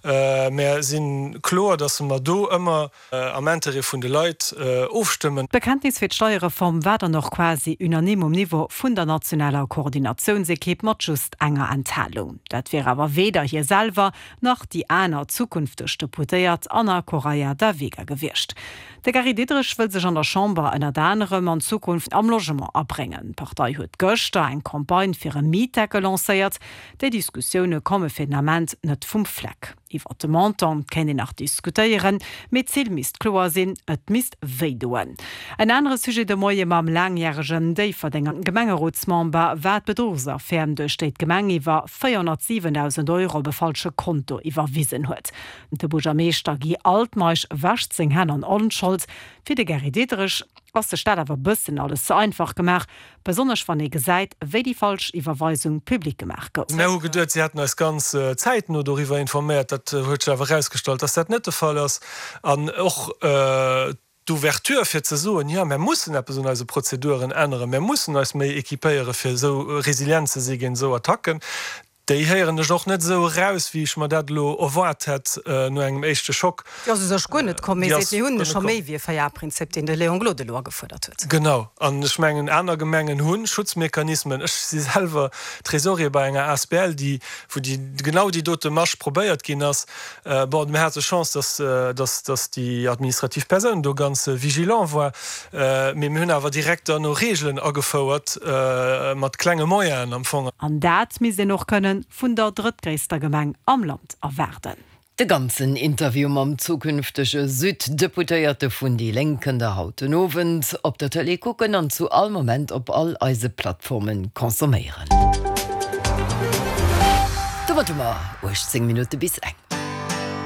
Mär si kloer, datt mer do ëmmer am Intérêt vun de Leit ofstëmmen. D'Bekenntnis fir d'Steierreform war dann och quasi unanime um Niveau vun der nationaler Koordinatiounsekipp, mat just enger Enthalung. Dat wier awer weder hie selwer nach déi aner zukünfteg Deputéiert Anna Correia da Vega gewiescht. De Gary Diderich wëll sech an der Chamber ënnert anerem an Zukunft am Logement abréngen. D'Partei huet gëschter eng Campagne fir e Mietdeckel lancéiert. Déi Diskussioune komme fir den Ament net vum Fleck. Iwwer de Montant kéint een nach diskutéieren, mee d'Zil misst kloer sinn, et misst wéi doen. En anere Sujet de Moie mam laangjäregen Déifferdenger Gemengerotsmember war d'Bedruchsaffär, duerch déi d'Gemeng iwwer 407.000 Euro op e falsche Konto iwwerwisen huet. De Buergermeeschter Guy Altmeisch wäscht seng Hänn an Onschold. Fir de Gary Diderich ass sech dat awer bëssen alles ze einfach gemaach, Besonnesch wann ee gesäit, wéi déi falsch Iwwerweisung public gemaach gouf. Mär hu geduet, si hätten eis ganz zäitno doriwwer informéiert. Dat huet sech awer erausgestallt, dass dat net de Fall ass. An och d'Ouverture fir ze soen, jo, mär mussen eppes un eise Prozeduren änneren, mär mussen eis méi équipéiere fir esou resilient ze si géint esou Attacken, Déi héieren ech och net esou eraus, wéi ech mer dat elo erwaart hätt no engem éischte Schock. Déi ass u sech guer net komm. Mee seet, mir hunn scho méi wéi e Véier-A-Prinzip, deen de Léon Gloden elo agefuerdert huet. Genau. An ech mengen, aner Gemengen hu Schutzmechanismen. Ech si selwer Trésorier bei enger asbl, déi, wou déi, genau déi dote Masch probéiert ginn ass. Bon, mir hate Chance, dass, dass, dass déi administrativ Persoun do ganz vigilant war. Mee mir hunn awer direkt derno Reegelen agefouert, mat klenge Moyenen am Fong. An dat misst een och kënnen vun der drëttgréisster Gemeng am Land erwaarden. De ganzen Interview mam zukünftege Süd-Deputéierte vun déi Lénk kënnt der haut den Owend op der Tëlee kucken an zu all Moment op all eise Plattforme consomméieren. Domat hu mer 18 Minutte bis eng.